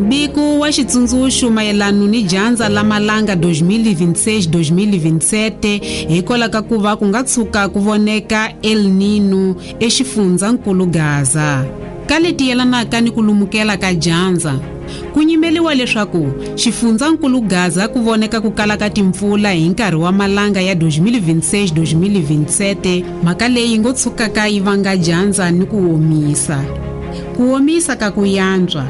Biko wa xitsundzuxo mayelano ni dyandza la malanga 2026-2027 hikwalaho ka ku va ku nga tshuka ku voneka El Nino exifundzankulu Gaza. Ka leti yelanaka ni ku lumukela ka dyandza, ku nyimeliwa leswaku xifundzankulu Gaza ku voneka ku kala ka timpfula hi nkarhi wa malanga ya 2026-2027, mhaka leyi ngo tshukaka yi vanga dyandza ni ku omisa. Ku omisa ka ku yantswa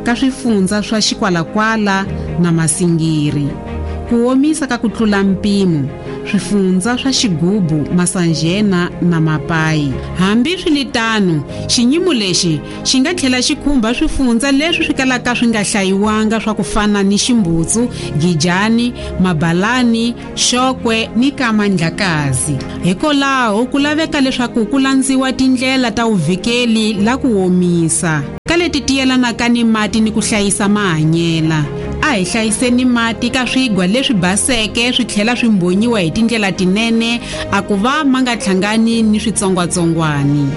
ka swifundza swa Xikwalakwala na Masingiri. Ku omisa ka ku tlula mpimo swifundza swa Xigubu, Masanjena na Mapayi. Hambi swi li tano, xinyimo lexi xi nga tlhela xi khumba swifundza leswi swi kalaka swi nga hlayiwanga swa ku fana ni Ximbutsu, Gijani, Mabalani, Xokwe ni Kamandlakazi. Hikolaho ku laveka leswaku ku landziwa tindlela ta vuvhikeli la ku omisa. Ka leti ti yelanaka ni mati ni ku hlayisa mahanyela. A hi hlayiseni mati ka swigwa leswi baseke swi tlhela swi mbhonyiwa hi tindlela tinene a ku va ma nga hlangani ni switsongwatsongwani.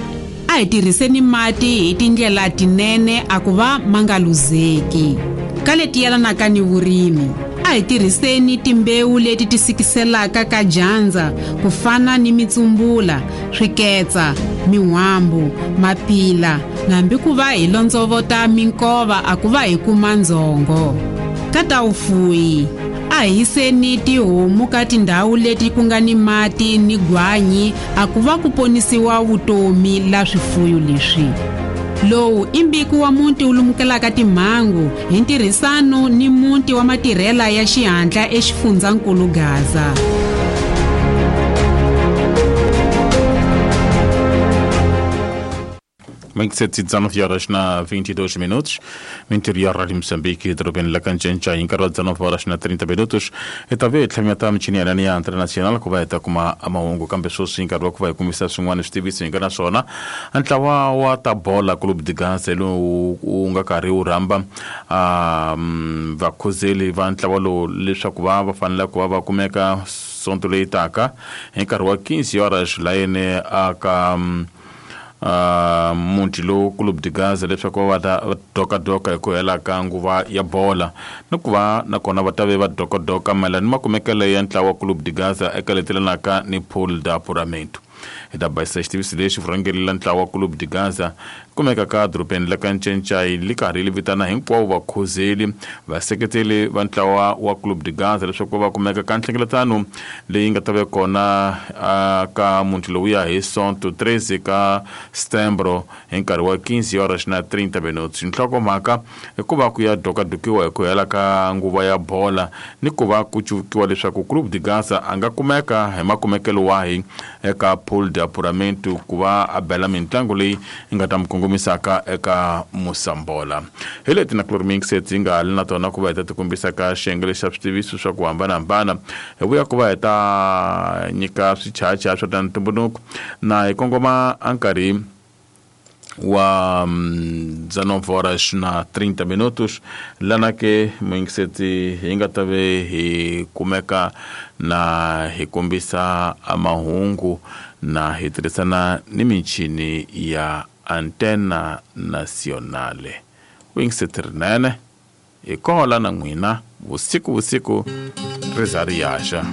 A hi tirhiseni mati hi tindlela tinene a ku va ma nga luzeki. Ka leti yelanaka ni vurimi, a hi tirhiseni timbewu leti ti sikiselaka ka dyandza ku fana ni mitsumbula, swiketsa, min'hwambu, mapila, hambi ku va hi londzovota minkova a ku va hi kuma ndzhongo. Ka ta vufuyi, a hi yiseni tihomu ka tindhawu leti ku nga ni mati ni gwanyi a ku va ku ponisiwa vutomi la swifuyo leswi. Lowu i mbiko wa muti wu lumukelaka timhangu hi ntirhisano ni muti wa matirhela ya xihatla exifundzankulu Gaza. 27 horas na 22 minutos, interior Rádio Moçambique, dorobeni la Kancenca, hi nkarhi wa 19 horas na 30 minutos. Hi ta ve hi tlhameta michini ya hina ya international ku va hi ta kuma mahungu, kambe sweswi nkarhi wa ku va hi kumisa swin'wana switiviso hi nga na swona. Ntlawa wa ta bola Club de Gaza lowu wu nga karhi wu rhamba vakhuzeli va ntlawa lowu leswaku va va fanele ku va va kumeka sonto leyi taka hi nkarhi wa 15 horas layeni aka muti lowu Club de Gaza leswaku va ta dokadoka hi ku hela ka nguva ya bola ni ku va nakona va ta ve va dokadoka mayelana ni makumekelo ya ntlawa Club de Gaza eka leti lanaka ni Pool da Apuramento. Hi ta basisa xitiviso lexi vurhangeri la ntlawa Club de Gaza kumeka ka dorobeni la ka Ncencai li karhi li vitana hinkwavo vakhozeli vaseketeli va ntlawa wa Club de Gaza leswaku va kumeka ka nhlengeletano leyi nga ta va kona ka muti lowuya hi Sonto 13 ka Setembro hi nkarhi wa 15 horas na 30 minutos. Nhlokomhaka i ku va ku ya dokadokiwa hi ku hela ka nguva ya bola ni ku va ku cuvukiwa leswaku Club de Gaza a nga kumeka hi makumekelo wahi eka Pool de Apuramento ku va a bela mintlangu leyi yi nga ta mi kongomisaka eka Musambola. Hi leti na Chlormix ti nga li na tona ku va hi ta ti kombisa ka xiyenge lexi xa switiviso swa ku hambanahambana. Hi vuya ku va hi ta nyika swichacha swa ta ntumbuluko na hi kongoma a nkarhi wa 19 horas na 30 minutos lana ke muyingiseti hi nga ta ve hi kumeka na hi kombisa mahungu na hi tirhisana ni michini ya Antena Nacionale. Vuyingiseti rinene hi kola na n'wina vusiku vusiku ri za ri yaxa.